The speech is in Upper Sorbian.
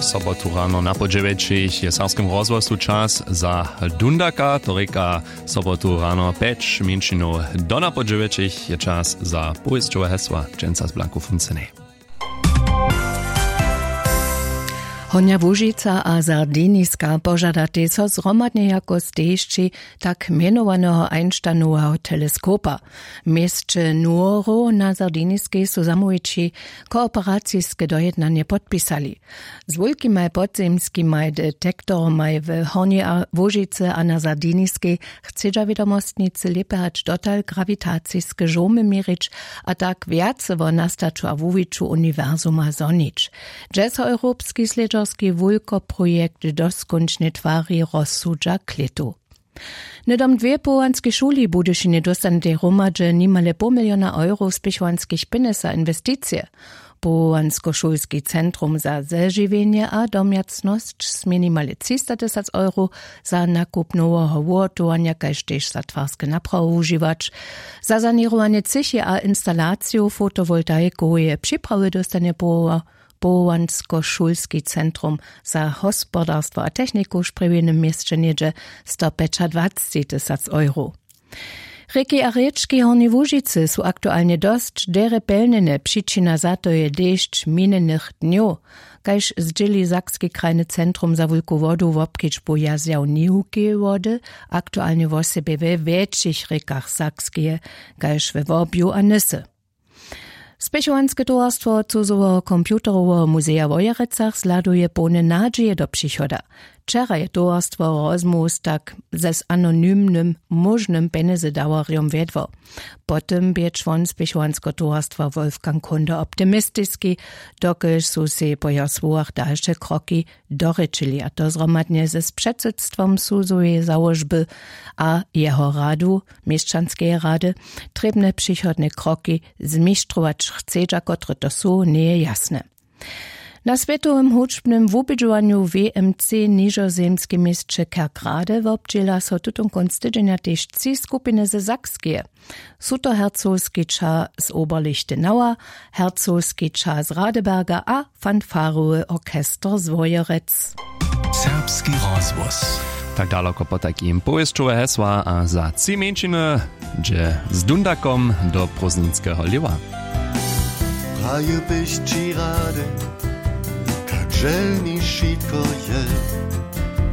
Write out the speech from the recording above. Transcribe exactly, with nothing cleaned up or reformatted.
Sobotu rano na po dźewjećich je w serbskim rozhłosu čas za dundaka, to rěka sobotu rano pjeć mjeńšinow. Do na po dźewjećich je čas za powěsćowe hesła, dźensa z Blanku Funcenej. Hornja Łužica a Sardiniska požadatej so zhromadnje jako stežći tak mjenowaneho Einsteinoweho teleskopa. W měsće Nuoro na Sardiniskej su zamołwići kooperaciske dojednanje podpisali. Z wulkimaj podzemskimaj detektoromaj w Hornjej Łužicy a na Sardiniskej chcedźa wědomostnicy lěpje hač dotal grawitaciske žołmy měrić a tak wjace wo nastaću a wuwiću uniwersuma zhonić. Dźe so europski slědźerski wulkoprojekt doskónčnje twari rozsudźa klětu. Hnydom dwě powołanskej šuli w Budyšinje dóstanetej hromadźe nimale poł miliona euro spěchowanskich pjenjez za inwesticije. Powołanskošulski centrum za zežiwjenje a domjacnosć smě nimale třistatysac euro za nakup noweho wuhotowanja kaž tež za twarske naprawy wužiwać. Za saněrowanje třěchi a instalaciju fotowoltaikoweje připrawy dóstanje powoła- powołanskošulski centrum za hospodarstwo a techniku w sprjewjenym měsće něhdźe stopjećadwacećitysac euro. Rěki a rěčki w Hornjej Łužicy su aktualnje dosć derje pjelnjene. Přičina za to je dešć minjenych dnjow. Kaž zdźěli sakski krajny centrum za wulku wodu wobkedźbu jazjaw niwukeje wody, aktualnje wosebje we wjetšich rěkach Sakskeje, kaž we Wobju a Nysy. Spěchowanske towarstwo cuzoweho computeroweho muzeja w Wojerecach zhladuje połne nadźije do přichoda. Wčera je towarstwo rozmołw z tak z anonymnym móžnym pjenjezedawarjom wjedło. Po tym bě čłon spěchowanskeho towarstwa Wolfgang Kunde optimistiski, dokelž su sej po jeho słowach dalše kroki dorěčili, a to zhromadnje z předsydstwom suzoweje załožby a jeho radu, měšćanskeje rady. Trěbne přichodne kroki zmištrować chcedźa, kotre to su, njeje jasne. Na swětowym hudźbnym wubědźowanju W M C w nižozemskim měsće Kerkrade wobdźěla so tutón kónc tydźenja tež tři skupiny ze Sakskeje. Su to hercogski ćah z Oberlichtenauer, hercogski ćah z Radeberga a fanfarowy orchester z Wojerec. Serbski rozhłos. Tak daloko potajkim powěsćowe hesła a za tři mjeńšiny dźe z dundakom do prózdninskeho lěwa. Prajił bych ći rady, kak želni wšitko je.